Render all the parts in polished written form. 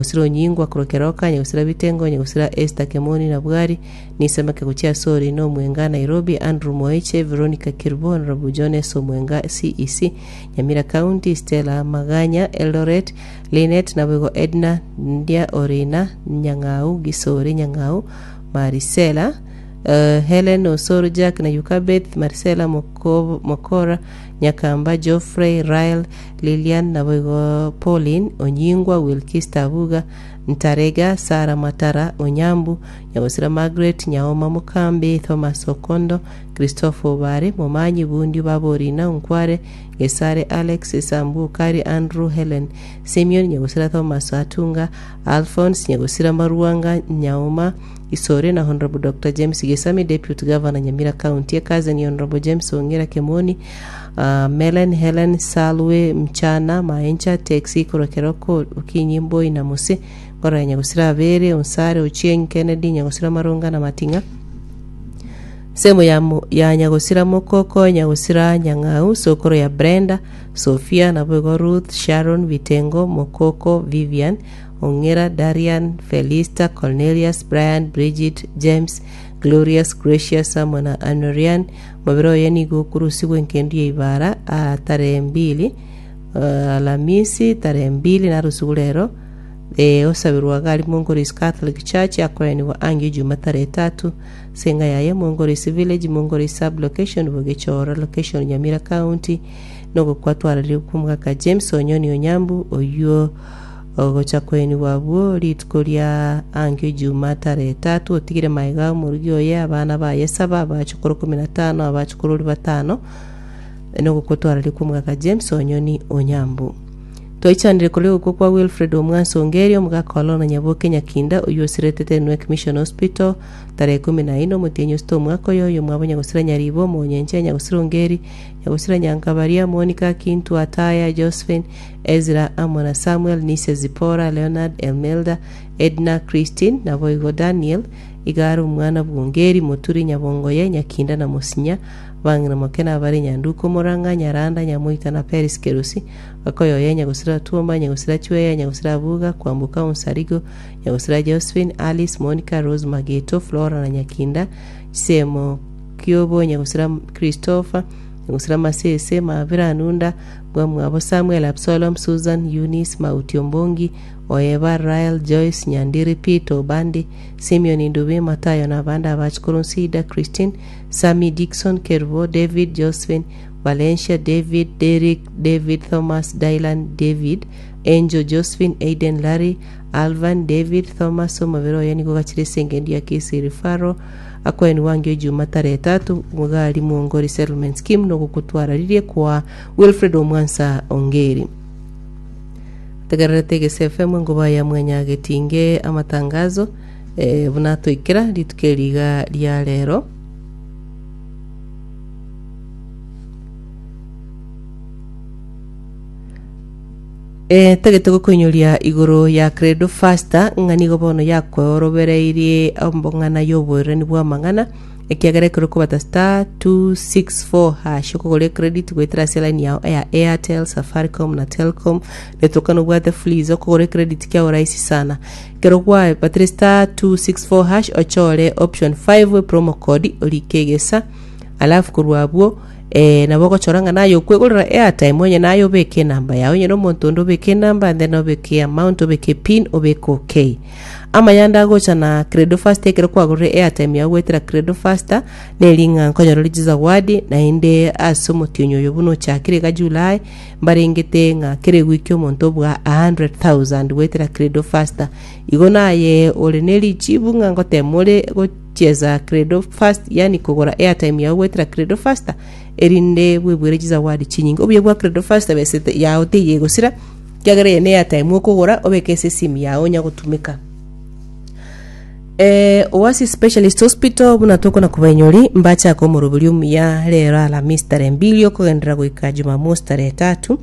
Nyagusira Onyingwa korwa Keroka, Nyagusira Bitengo, Nyagusira Esther Kemoni na Bwari, Nisamake gochia ase Orina Omwenga, Nairobi, Andrew Moeche, Veronica Kerubo, Honourable John S. Omwenga, CEC, Nyamira County, Stella Maganya, Eldoret, Linet, naboigo Edna Ndia Orina, Nyang'au, Gisore Nyang'au, Marisela, eh, Helen Osoro Jack na Yukabeth, Marisela Moko, Mokora, Nyakamba, Geoffrey, Rael, Lilian, naboigo Pauline, Onyingwa, Wilkista Abuga, Ntarega, Sarah Matara, Onyambu, Nyagosira Margaret, Nyaoma Mokambi, Thomas Okondo, Christopher Obare, Momanyi Bundio Baborina, Onkware, Gesare Alex, Sambu Okari, Andrew, Helen, Simeon, Nyagosira Thomas Atunga, Alphonse, Nyagosira Maruanga, Nyaoma, Isore na Honourable Doctor James Gesami, Deputy Governor Nyamira County, Ekaze ni Honourable James Ong'era Kemoni, ah, Melen Helen Salwe Mchana Maencha Taxi korwa Keroko Okinyi Mboi na Mose Ngoro ya Nyagosira Abere Onsare Ochieng Kennedy Nyagosira Maronga na Mating'a Semo ya, mo- ya Nyagosira Mokoko Nyagosira Nyang'au Sokoro ya Brenda Sophia naboigo Ruth Sharon Bitengo Mokoko Vivian Ong'era Darian Felista Cornelius Brian Bridget James Glorious Gracious amo na Anorian Omobere oye nigo okorusigwa engendu ya ibara aa tarehe mbili Alamisi tarehe mbili narusigwe rero eh, osabirwa iga aria Mongoris Catholic Church akoenigwa angio Juma tarehe tatu ase enga yaye Mongoris Village Mongoris Sub Location Bogechoro Location Nyamira County nogokwa twararia kw'omogaka James Onyoni Onyambu oyio Ogocha koenigwa abwo rituko ria ankio Juma tarehe tatu, otigire magega omorugi oye, abana baye saba, abachokoro ikomi na tano, abachokorori batano, nogokotwararia kw'omogaka James Onyoni Onyambu. Twaichanire koria ogokwa kwa Wilfred Omwansa Ongeri, omogaka o Lorna Nyaboke Nyakinda, oyio osiretete Enwek Mission Hospital, tarehe ikomi na ine omotienyi osito omwaka oyo, oyomwabo Nyagosira Nyaribo, Omonyenche, Nyagosira Ongeri, Nyagosira Nyankabaria, Monica, Kintu, Ataya, Josephine, Ezra amo na Samuel, Nise, Zipora, Leonard, Elmelda, Edna, Christine, naboigo Daniel, iga are omwana bw'Ongeri, Moturi, Nyabongoye, Nyakinda na Mosinya, abang'ina moke nabare Nyanduko, Morang'a, Nyaranda, Nyamoita na Peris Kerusi, Bakoyoye, Nyagosira Tuoma, Nyagosira Chweya, Nyagosira Abuga, Kwamboka Onsarigo, Nyagosira Josephine, Alice, Monica, Rose Mageto, Flora na Nyakinda, Chisemo Kiobo, Nyagosira Christopher, Nyagosira Masese, Mabira Anunda, Bwamwabo Samuel, Absalom, Susan, Eunice, Mauti Ombongi, Oeba, Rael, Joyce, Nyandiri, Peter, Obandi, Simeon Ndubi, Matayo na abande abachukuru Nsida, Christine, Sammy, Dickson, Kerubo, David, Josephine, Valencia, David, Derrick, David, Thomas, Dylan, David, Angel, Josephine, Aiden, Larry, Alvan, David, Thomas, omobere oye nigo ogachire ase engencho ya Kisii Referral, Akoenigwa angio Ejuma tarehe tatu omogari Mwongori Settlement Scheme nogokotwararirie kwa Wilfred Omwansa Ongeri. Tegererete Egese FM engoba ya mwanyagetinge amatangazo eh, buna atoikera rituko eri iga ria rero. Eh, tagete gokoinyoria igoro ya Credo Faster ng'a nigo bono yakweorobereirie ombong'ana y'oboererani bw'amang'ana ekiagera ekero okobata star 264 hash okogora ecredit goetera ase line yao ya Airtel, Safaricom na Telcom netoka nobwate Fuliza okogora ecredit kiao rahisi sana ekero gwabatire star 264 hash ochore option 5 promo code orike egesa alafu korwa abwo Ee, nabo ogochora ng'a naye okwegorera airtime onye naye obeke enamba yao onye nomonto onde obeke enamba and then obeke amount obeke pin obeke okay. Amaya ande agocha na Credo Faster ekero kwagorire airtime yao goetera Credo Faster neri ng'a nkonyora ore chizawadi naende ase omotienyi oyo buna ochakire iga July mbarengete ng'a kera ewiki omonto obua 100,000 goetera Credo Faster. Igo naye ore ne richibu ng'a ngotema ore Gochiesa Credo Fast, yaani kogora airtime yao goetera Credo Faster, erinde bwebwere chizawadi chinyinge. Obuya bwa Credo Faster besa yao teiyo egosira, ekiagera eye ne airtime okogora obeke ase esimu yao onya gotumeka. Eh, Oasis Specialist Hospital buna tokona kobainyori mbachake omoroberi omuya rero Alamisi tarehe mbili okogenderera goika Jumamosi tarehe tatu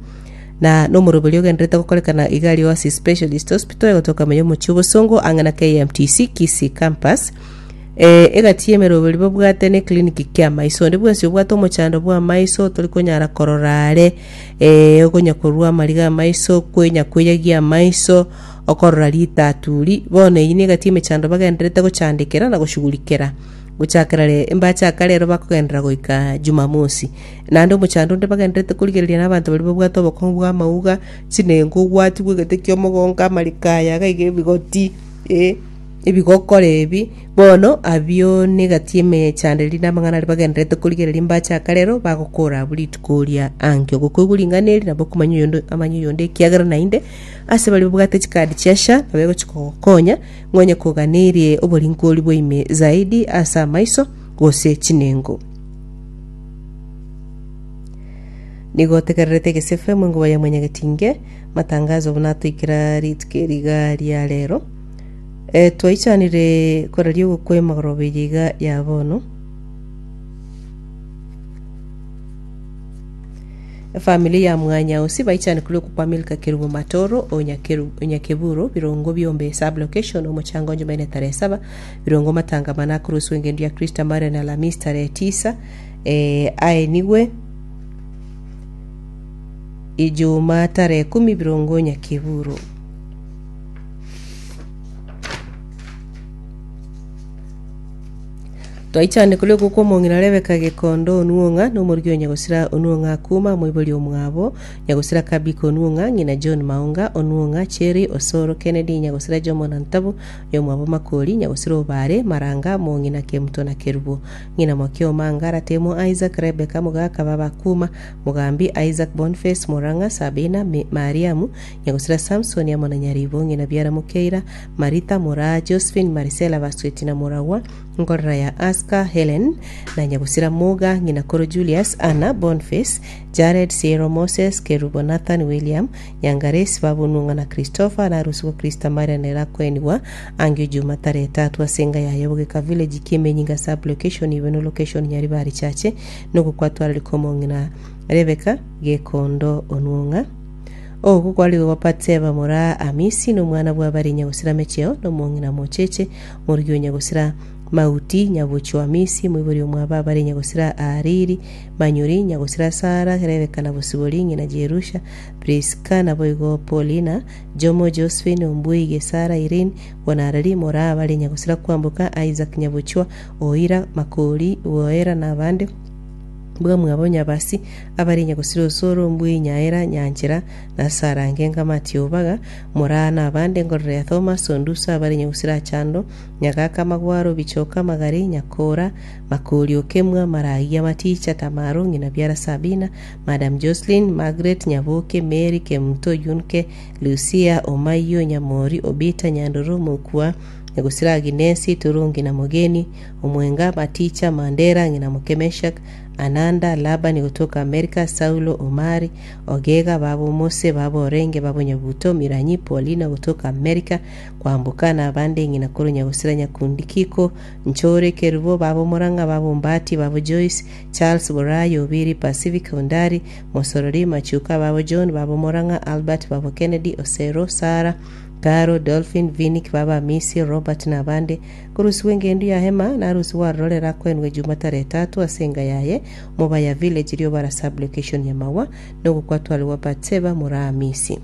na nomoroberi ogendererete gokorekana iga aria Oasis Specialist Hospital egotoka ime y'omochie obosongo ang'e na KMTC Kisii Campus. Eh, egati y'emeroberi babwate ne clinic ki'amaiso. Onde bwensi obwate omochando bw'amaiso tori konyara korora are, eh, okonya korwa amariga amaiso, kwenya kweyagia amaiso, okorora ritaturi. Bono eyio negati emechando bagendererete gochandekera na goshughulikera gochakera re mbachaka rero bakogenderera goika Jumamosi. Naende omochando onde bagendererete korigereria na abanto baria babwate obokong'u bwa amauga, chinengo ogwatigwa egete kia omogongo amariko aya iga iga ebigoti eh, ebigokora ebi, bono abio negati emechando eria na amang'ana aria bagendererete korigereria mbachaka rero bagokora abwo rituko ria ankio. Gokoigwa ring'ana eri nabo okomanya oyonde amanye oyonde ekiagera naende ase baria babwate chikadi chia SHA nabo egochi kogokonya ng'a onye koganeirie oboringoria bwa ime zaidi ase amaiso gose chinengo. Nigo otegererete Egesefe mwenguba ya Mwanyagetinge, matangazo buna atoikera rituko eri iga ria rero. Eh, twaichanire koraria ogokwa emagoroba eye iga ya bono. Efamiri ya Mwanyausi baichane korwa okwa Milka Kerubo Matoro o Nyakeru- Nyakeburo birongo biombe sub location omochango Jumaine tarehe saba birongo matangamano akoroswa engendu ya Krista Marian Alhamisi tarehe tisa eh, aenigwe Ijumaa tarehe kumi birongo Nyakeburo. Twaichane koria okwo kw'omong'ina Rebeka Gekondo Onuong'a, na omorugi o Nyagosira Onuong'a Akuma, omoibori omwabo, Nyagosira Kabika Onuong'a, ng'ina John Maonga Onuong'a, Cherry Osoro Kennedy, Nyagosira Jomo na Ntabu, oyomwabo Makori, Nyagosira Obare, Maranga, Mong'ina Kemuto na Kerubo, ng'ina Mwakio Omanga, Ratemo Isaac, Rebeka Mogaka, Baba Akuma, Mogambi Isaac Boniface, Morang'a, Sabina, Mariamu, Nyagosira Samson amo na Nyaribo, ng'ina biara Mokeira, Maritha, Moraa, Josephine, Marisela, Basweti na Moragwa, nkorera ya Aska, Helen, na Nyagosira Moga, ng'ina koro Julius, Anna, Boniface, Jared, Siero, Moses, Kerubo, Nathan, William, Nyangaresi, Babunung'a na Christopher, na arusigwe Christa Maria nere akoenigwa angio Juma tarehe tatu ase enga yaye Bogeka Village, Kimenyinga Sub-location, Ibeno Location, Nyaribari Chache, nogokwatwararika omong'ina Rebecca Gekondo Onwong'a. Ogo kware gwa Batseba moraa Amisi, na omwana bw'abare nyagosira Mecheo, na omong'ina Mocheche, morugi o nyagosira Mauti, nyabochio Amisi, moibori omwabo abare nyagosira Ahariri, Manyuri, nyagosira Sara, Rebeka na Bosibori, ng'ina Jerusha, Priska, naboigo Paulina, Jomo, Josephine, Ombui, Gesara, Irene, Bonarari, moraa abare nyagosira Kwamboka, Isaac, nyabochwa, Oira, Makori, Boera, na abande. Bwamwabo Nyabasi, abare Nyagosira Osoro, Ombui, Nyaera, Nyanchera, na Sarange, Ngamati, Obaga, Moraa na abande, Ngorora ya Thomas, Onduso, abare Nyagosira Achando, Nyagaka, Magwaro, Bichoka, Magari, Nyakora, Makori, Okemwa, Maragia, Maticha, Tamaro, Ng'ina Biara Sabina, Madam Joseline, Margaret, Nyaboke, Mary, Kemunto, Yunke, Lucia, Omayio, Nyamori, Obita, Nyandoro, Mokua, Nyagosira Aginesi, Turungi na Mogeni, Omwenga, Maticha, Mandera, ng'ina moke Meshak, Ananda, Labani gotoka Amerika, Saulo, Omari, Ogega, baba Omose, baba Orenge, baba Nyabuto, Miranyi, Paulina gotoka Amerika, Kwamboka, na abande ng'ina korwa Nyagosira Nyakundi Kiko, Nchore, Kerubo, baba Omorang'a, baba Ombati, baba Joyce, Charles, Borayo, Obiri, Pacific, Ondari, Mosorori, Machuka, baba John, baba Omorang'a, Albert, baba Kennedy, Osero, Sarah, Caro, Dolphin, Vinick, baba Amisi, Robert, na abande. Korusigwa engendu ya hema, narusigwe aroro rero akoenwe ejuma tarehe tatu ase enga yaye, Mobaya Village, Riobara Sub-location Nyamagwa, nogokwatwarigwa Batseba moraa Amisi.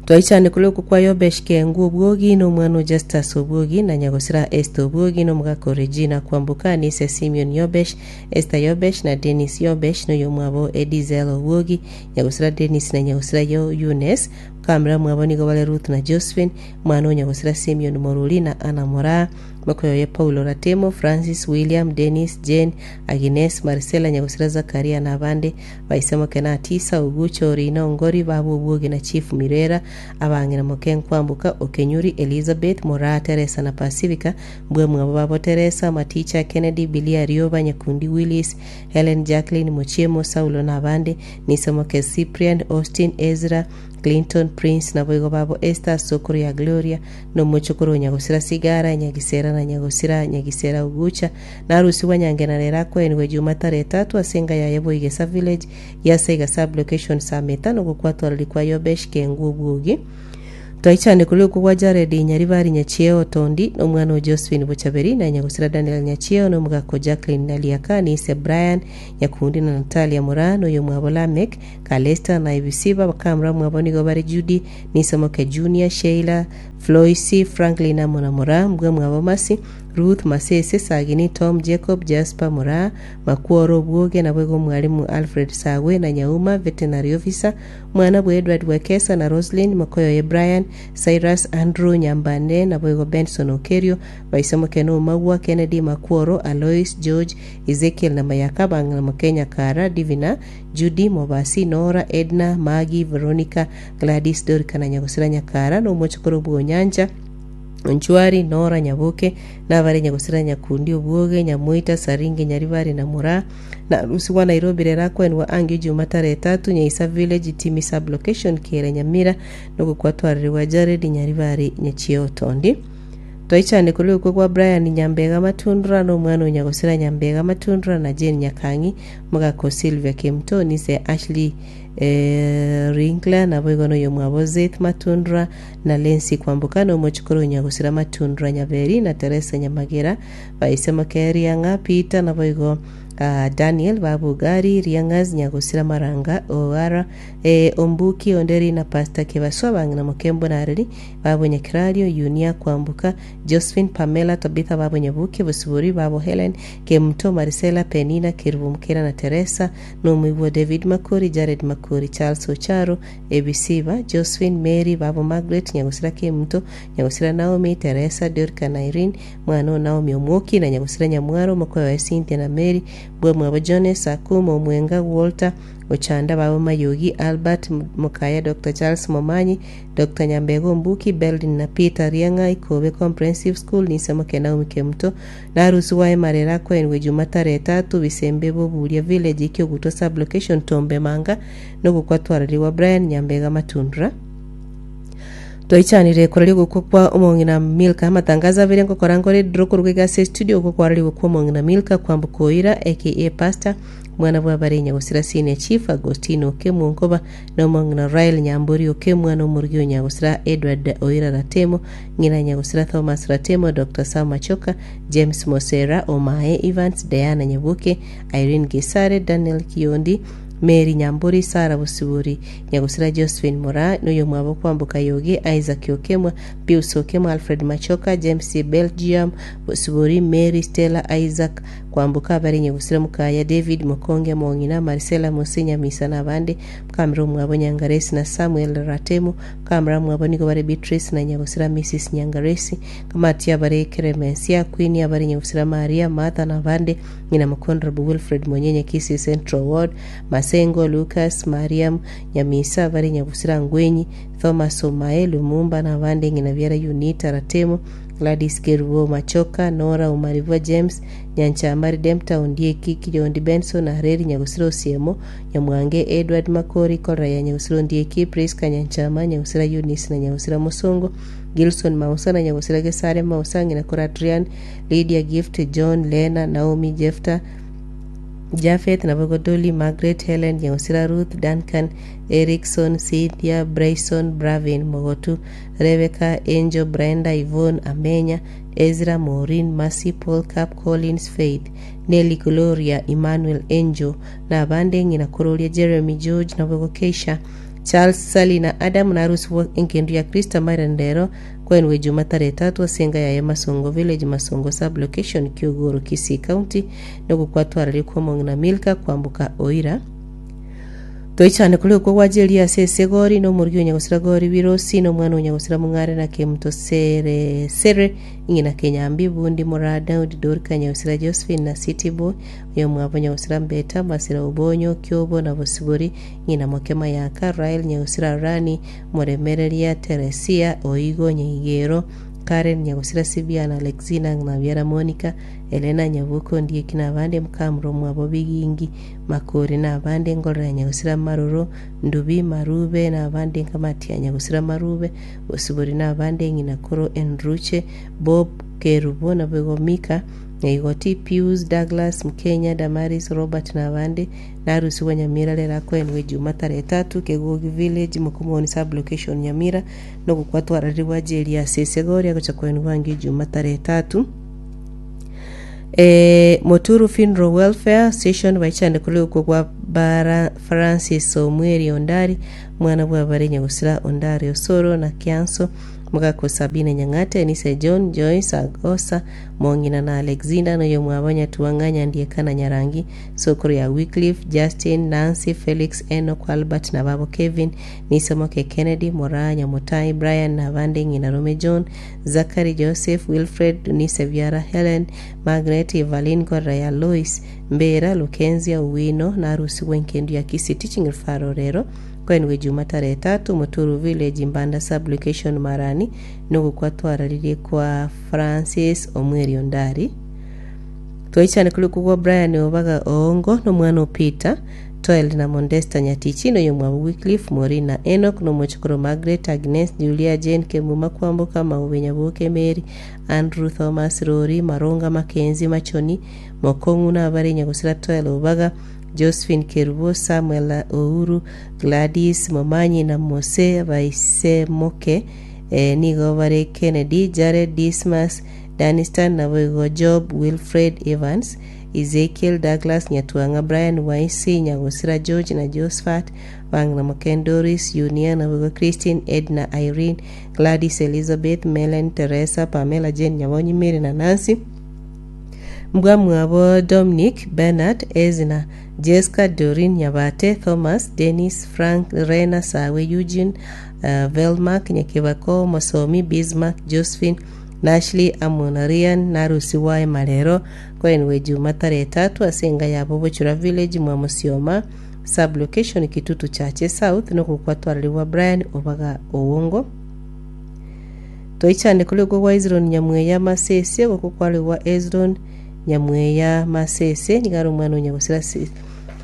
Twaichane korwa okwo kwa Yobesh Kengu Obwogi, na omwana o Justus Obwogi, na nyagosira Esther Obwogi, na omogaka o Regina Kwamboka, na ise Simeon Yobesh, Esther Yobesh, na Dennis Yobesh, na oyomwabo Edizel Obwogi, nyagosira Dennis na nyagosira Eunice, Kamera mwabo nigo bare Ruth na Josephine, mwana o nyagosira Simeon Moruri na Anna Moraa, mokoyoye Paulo Ratemo, Francis, William, Dennis, Jane, Agnes, Marcella, nyagosira Zakaria na abande, baise moke na Atisa, Ogucha, Orina, Ongori, baba Obwogi na Chief Mirera, abang'ina moke Nkwamboka, Okenyuri, Elizabeth, Moraa, Teresa na Pacifica, mbwe mwabo babo Teresa, Maticha, Kennedy, Bilia, Rioba, Nyakundi, Willis, Helen, Jacqueline, Mochiemo, Saulo na abande, Nisomoke, Cyprian, Austin, Ezra, Clinton, Prince, naboigo babo Esther, sokoro ya Gloria, na omochokoro o nyagosira Sigara, Nyagisera na nyagosira Nyagisera Ogucha, na arusigwa Nyangena rero akoenigwe Juma tarehe etatu ase enga yaye Boigesa Village, Giasaiga Sub-location Sameta, na ogokwatwareri kwa Yobesh Kengu Obwogi. Twaichane korwa okwo gwa Jaredi Nyaribari Nyachieo Tondi, na omwana o Josephine Bochaberi, na nyagosira Daniel Nyachieo, na omogaka o Jacqueline Naliaka, na ise Brian Nyakundi, na Natalia Moraa, na oyomwabo Lameck, Calesta, na Ebisiba. Bakamura mwabo nigo bare Judy, na ise moke Junior, Sheila, Floisi, Franklin amo na Moraa, mbwa mwabo Mercy, Ruth, Masese, Sagini, Tom, Jacob, Jasper, Moraa, Makworo, Obwoge, naboigo omwalimu Alfred Sagwe, na Nyauma, Veterinary Officer, Mwana bwa Edward Wekesa na Roslyn, mokoyoye Brian, Cyrus, Andrew, Nyambane, naboigo Benson Okerio, baisemoke na Omagwa, Kennedy, Makworo, Alois, George, Ezekiel na Mayaka, bang'ina moke Nyakara, Divina, Judy, Mobasi, Nora, Edna, Maggie, Veronica, Gladys, Dorika na Nyagosira Nyakara, na omochokoro bw'Onyancha, Onchwari, Nora, Nyaboke, nabare Nyagosira Nyakundi, Obwoge, Nyamoita, Saringe, Nyaribari na Moraa, na Rusi gwa Nairobi rero akwenwa angio Juma tarehe tatu, Nyaisa Village, Timi Sub-location, Kiera Nyamira, nogokwatwarerigwa Jared Nyaribari Nyachio Otondi. Twaichane korwa okwe gwa Brian Nyambega Matundura na omwana o Nyagosira Nyambega Matundura na Jane Nyakang'i, omogaka o Sylvia Kemto, nise Ashley eh, Ringler, naboigo noyomwabo Zeth Matundura na Lency Kwamboka, na omochokoro o Nyagosira Matundura Nyaberi na Teresa Nyamagera, baise moke Riang'a Peter, naboigo ah, Daniel Babugari Riang'as Nyagosira Maranga Oara eh, Ombuki Onderi na Pastor Kebaswa bang'ina Mokembo na Areri babo Nyakerario Yunia Kwamboka Josephine Pamela Tabitha babo Nyabuke Bosibori babo Helen Kemuto Marisela Penina Kerubo Mukera na Teresa Nomoigwa David Makori Jared Makori Charles Ocharo Ebisiba Josephine Mary babo Margaret Nyagosira Kemuto Nyagosira Naomi Teresa Dorika na Irene Mwana o Naomi Omwoki na Nyagosira Nyamwaro omokoe oye Cynthia na Mary bwamwabo Jones Akumo Omwenga Walter Ochanda babo Mayogi Albert Mokaya Doctor Charles Momanyi Doctor Nyambega Ombuki Beldin na Peter Riang'a Ikobe Comprehensive School Nise Moke Naomi Kemuto na Arusi wa Emarera akoenigwe Juma tarehe tatu Bisembe Boburia Village Ekiogutwa Sub-location Tombe Manga nogokwa twararigwa Brian Nyambega Matundura Twaichanire koraria ogokwa kwa omong'ina Milka. Amatangazo abere ngokora nkore draw koruga iga ase estudio okwo kwararigwe kwa omong'ina Milka kwamboka Oira aka Pastor mwana bw'abare Nyagosira Senior Chief Agostino Okemwa Onkoba na omong'ina Rael Nyambori Okemwa na omorugi o Nyagosira Edward Oira Ratemo ng'ina Nyagosira Thomas Ratemo Doctor Sam Machoka James Mosera Omae Evans Diana Nyaboke Irene Gesare Daniel Kiondi Mary Nyambori, Sarah Bosibori, Nyagosira Josephine Moraa, na oyomwabo Kwamboka Yogi, Isaac Okemwa, Pius Okemwa, Alfred Machoka, James Belgium, Bosibori, Mary Stella, Isaac Kwamboka, abare Nyagosira Mukaya, David Mokonge, Mong'ina, Marcella Mose, Nyamisa na abande, Mukamira omwabo Nyangaresi na Samuel Ratemo, Mukamira mwabo nigo bare Beatrice na Nyagosira Mrs Nyangaresi, Kamati abare Keremensia, Queen abare Nyagosira Maria, Martha na abande, Ng'ina Honourable Wilfred Monyenye Kisii Central Ward, Masengo Lucas, Mariam Nyamisa, bare Nyagusira Ngwenyi, Thomas Omae, Lumumba na abande ng'ina biara Unita Ratemo, Gladys Kerubo Machoka, Nora Omaribwa James, Nyanchama Redempta Ondieki, Kiyondi Benson, Areri Nyagusira Osiemo, Nyamwange Edward Makori, Korra ya Nyagusira Ondieki, Prisca Nyanchama, Nyagusira Eunice na Nyagusira Mosongo, Gilson Mausa na Nyagusira Gesare Mausa, ng'ina kore Adrian, Lydia Gift, John, Lena, Naomi, Jefta, Jafeth, naboigo Dolly, Margaret, Helen, Nyagosira Ruth, Duncan, Erickson, Cynthia, Bryson, Bravin, Mogotu, Rebecca, Angel, Brenda, Yvonne, Amenya, Ezra, Maureen, Mercy, Paul, Cap, Collins, Faith, Nelly, Gloria, Emmanuel, Angel, na abande ng'ina kororia Jeremy, George, naboigo Keisha, Charles, Sally, na Adam, na Ruth bwa engendu ya Kristo amairani rero kwenwe Juma tarehe tatu ase enga yaye Masongo Village, Masongo Sub-location, Kiogoro, Kisii County, nogokwatwararia kw'omong'ina Milka kwamboka Oira. Toichane kore okwo gwacheria ase esegori, na omorugi o nyagosira gori birosi, na omwana o nyagosira mong'are na kemuto sere sere, ng'ina kenyambi bundi moraa Daudi Dorika nyagosira Josephine na City Boy, oyomwabo nyagosira Mbeta, Masira Obonyo, Kiobo na Bosibori, ng'ina moke Mayaka, Rael nyagosira Rani, Moremereria Teresia, Oigo Nyaigero, Karen Nyagosira Sibia na Alexina ng'ina biara Monica, Elena Nyabuko Ndieki na abande Mukamura omwabo Bigingi Makori na abande Ngorora ya Nyagosira Maroro Ndubi Marube na abande Nkamati ya Nyagosira Marube Bosibori na abande Ng'ina Koro Enruche Bob Kerubo naboigo Mika Nyaigoti, Pius, Douglas, Mkenya, Damaris, Robert na abande, narusigwe Nyamira rero akoenigwe Ejuma tarehe etatu, Kegogi Village, Mokomoni Sub-location, Nyamira, nogokwa twararigwe ajeri ase esegori agocha koenigwa angio Ejuma tarehe etatu. Eh, Moturu Funeral Welfare Station baichande korwa okwo gwa Bara Francis Omweri Ondari, omwana bw'abare Nyagusira Ondari Osoro na Kianso, Mogaka Sabina Nyang'ate, Enise John, Joyce Agosa, Mong'ina na Alexinda, na oyomwabo Nyatuang'a, Nyandieka na Nyarangi, Sokoro ya Wycliffe, Justin, Nancy, Felix, Enock, Albert na babo Kevin, Nisomoke Kennedy, Moraa, Nyamutai, Brian na abande ng'ina Rome John, Zachary, Joseph, Wilfred, Nise biara Helen, Margaret, Evaline, Gorera ya Lois, Mbera, Lukenzia, Owino, na arusigwe enkendu ya Kisii Teaching Referral rero, Koenigwe Juma tarehe tatu, Muturu Village, Mbanda Sub-location, Marani, nogokwa twararirie kwa Francis Omweri Ondari. Twaichane kori okogwa Brian Obaga Oongo nomwana o Peter, Toel na Mondesta Nyatichi noyomwabo Wycliffe, Maureen na Enock nomochokoro Margaret, Agnes, Julia, Jane, Kemuma, Kwamboka, Maube, Nyaboke, Mary, Andrew, Thomas, Rori, Maronga, Mackenzie, Machoni, Mokong'u nabare Nyagosira Toel Obaga, Josephine Kerubo, Samuel Ouru, Gladys Momanyi na Mose Baisemoke, nigo bare Kennedy, Jared, Dismas, Danistan, naboigo Job, Wilfred, Evans, Ezekiel, Douglas, Nyatuang'a, Brian, Waisi, Nyagosira, George na Josphat, Bang'ina Moken, Doris, Yunia, naboigo Christine, Edna, Irene, Gladys, Elizabeth, Melen, Teresa, Pamela, Jane, Nyabonyi, Mary na Nancy. Mbwamwabo Dominic, Bernard, Ezna, Jesca, Doreen, Nyabate, Thomas, Dennis, Frank, Rena, Sawe, Eugene, Velmark, Nyakebako, Mosomi, Bismarck, Josephine, Nashley amo na Ryan narusigwe aye marero koenigwe Ejuma tarehe etatu ase enga yabo Bochura Village mwa Musioma Sub-location Kitutu Chache South nogokwa twararigwa Brian Obaga Owongo. Toichane koria okwo gwa Hezironi nyamweya Masese, ogokwa kwarigwa Hezironi nyamweya Masese, nigo are omwana o nyagosira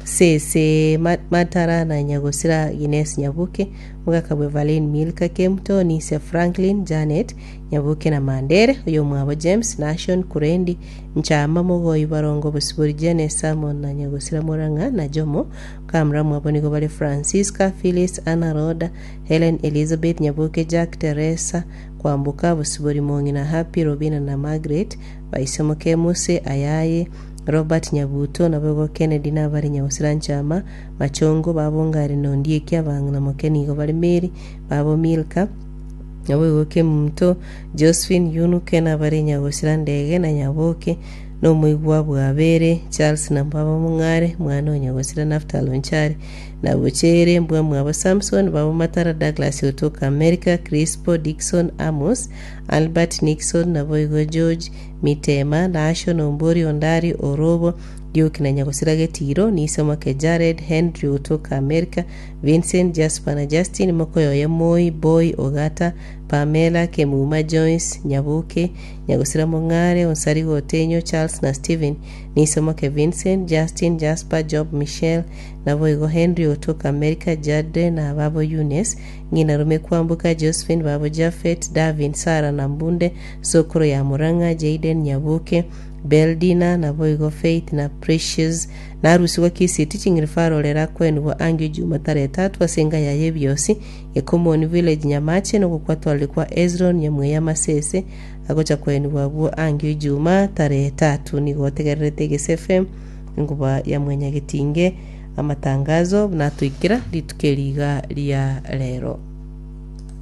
Sese Matara na nyagosira Ines Nyabuke, Omogaka bw'Evaline Milka Kemto, Nisia Franklin, Janet Nyabuke na Mandere, oyomwabo James, Nashon, Kurendi, Nchama, Mogoi, Barongo, Bosibori, Jane, Samon na nyagosira Morang'a na Jomo. Kamura mwabo nigo bare Francisca, Phyllis, Anna, Rhoda, Helen, Elizabeth, Nyaboke, Jack, Teresa, Kwamboka, Bosibori, Mong'ina, Happy, Robina na Margaret, Baisemoke, Muse, Ayaye, Robert Nyabuto, naboigo Kennedy nabare Nyagosira Nchama, Machongo, Babongari na Ondieki, abang'ina moke nigo bare Mary, babo Milka, naboigo Kemunto, Josephine, Yunuke nabare Nyagosira Ndege na Nyaboke, na omoigwa bw'Abere, Charles na baba Mong'are, mwana o Nyagosira Naftali Onchari, na Bochere, mbwa mwabo Samson, babo Matara, Douglas otoka America, Crispo, Dickson, Amos, Albert, Nixon, naboigo George, Mitema, Nashon, Ombori, Ondari, Orobo, Duke na Nyagosira Getiro, Nisomoke, Jared, Henry otoka America, Vincent, Jasper na Justin, mokoyoye Moi, Boy, Ogata, Pamela, Kemuma, Joyce, Nyaboke, Nyagosira Mong'are, Onsarigo Otenyo, Charles na Stephen, Nisomoke Vincent, Justin, Jasper, Job, Michelle, naboigo Henry otoka America, Jade na babo Eunice, ng'ina rome Kwamboka, Josephine, babo Japhet, Davin, Sarah na Mbunde, sokoro ya Murang'a, Jayden, Nyaboke, Beldina, naboigo Faith na Precious, narusigwe Kisii Teaching Referral erakwenigwa angio Juma tarehe etatu ase enga yaye ebiosi, Gekomoni Village Nyamache nogokwa twarire Ezron Nyamweya Masese agocha kwenigwa abwo angio Ijuma tarehe etatu nigo otegererete Egese FM enguba ya Mwanyagetinge amatangazo buna atoikera rituko eri iga ria rero.